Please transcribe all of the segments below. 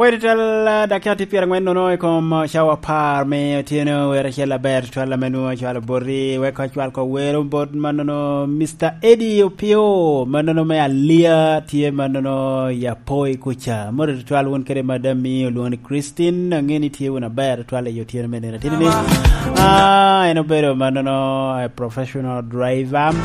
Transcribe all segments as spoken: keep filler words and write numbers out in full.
Pwod tutwal, ah, dakika tye pyerangwen nono i kom, ah, cawa apar me otyeno, wer acel aber tutwal ame nwoŋo acwalo boti, wek acwal ko wero bot mannono Mister Eddie Opio, mannono me Alia, tye mannono i Apoi kuca. Mot tutwal wun kede madam mi olwoŋo ni Christine, aŋe ni tye wun aber tutwal i otyeno me nino. Tini ni, ah, en obedo mannono, eh, professional driver.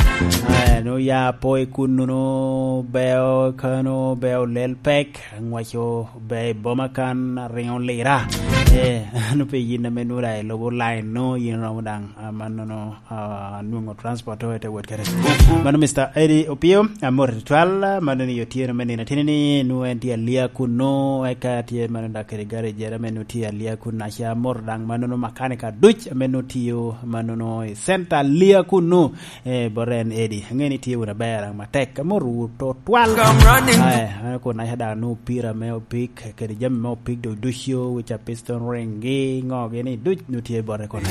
Ah, en oya Apoi kunnono, beo kano, beo lel pek. Ngwaco ber i boma kan, riŋo lira. Eh, an pe yin ame nwoŋo daŋ ilubo line no, yin romo daŋ, ah, mannono, ah, nwoŋo transport o ite wot kede. Mano Mister Eddie Opio, amor tutwal, mano ni otyeno me nino atini ni, nwoŋo en tye Alia kunno, eka tye mano daŋ kede garejere ame nwoŋo tye Alia kunno, aca amor daŋ mannono makanika duc ame nwoŋo tiyo mannono i center Alia kunno. Eh, bot en Eddie. Aŋe ni tye wun aber, aŋ matek. Amor wu tutwal. Eh, an kun aca daŋ nu pira me opik, kede jami me opik do ducu, wica piston ring gi, ŋo gi ni duc nu tye bote kun.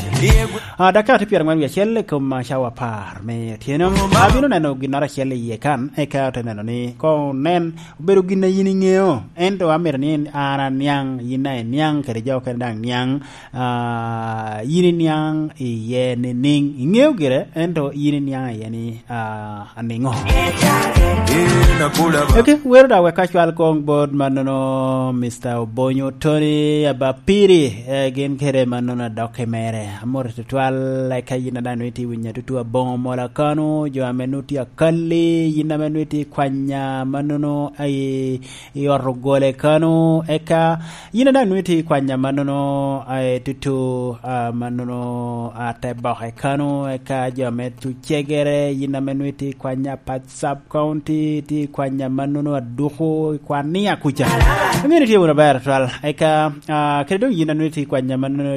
Ah, dakika tye pyerangwen wie acel i kom, ah, cawa apar me otyeno. Abino neno ginnoro acel iye kan, eka ote neno ni koŋ nen, obedo gin a yin iŋeo. Ento amito ni an aniaŋ, yin daŋ iniaŋ, kede jo okene daŋ niaŋ. Ah, yin iniaŋ iye ni niŋ, iŋeo gire, ento yin iniaŋ iye ni, ah, aniŋo? Ok, wero daŋ wek acwal koŋ bot mannono Mister Obonyo Tony Abapiri, eh, gin kede mannono adokke mere. Amor tutwal, eka yin a daŋ nwoŋo itye winyo atutu aboŋo mola kano, jo ame nwoŋo tye akalli, yin ame nwoŋo itye kwanya mannono, ai, i ot ogole kano, eka yin a daŋ nwoŋo itye i kwanya mannono, eh, tutu, ah, mannono, ah, te boke kano, eka jo ame tucegere, yin ame nwoŋo itye i kwanya pat sub county, itye i kwanya mannono aduku, i kwan ni akuca. Amino itye wunu aber twal, eka, ah, kede doŋ yin a nwoŋo itye i kwanya mannono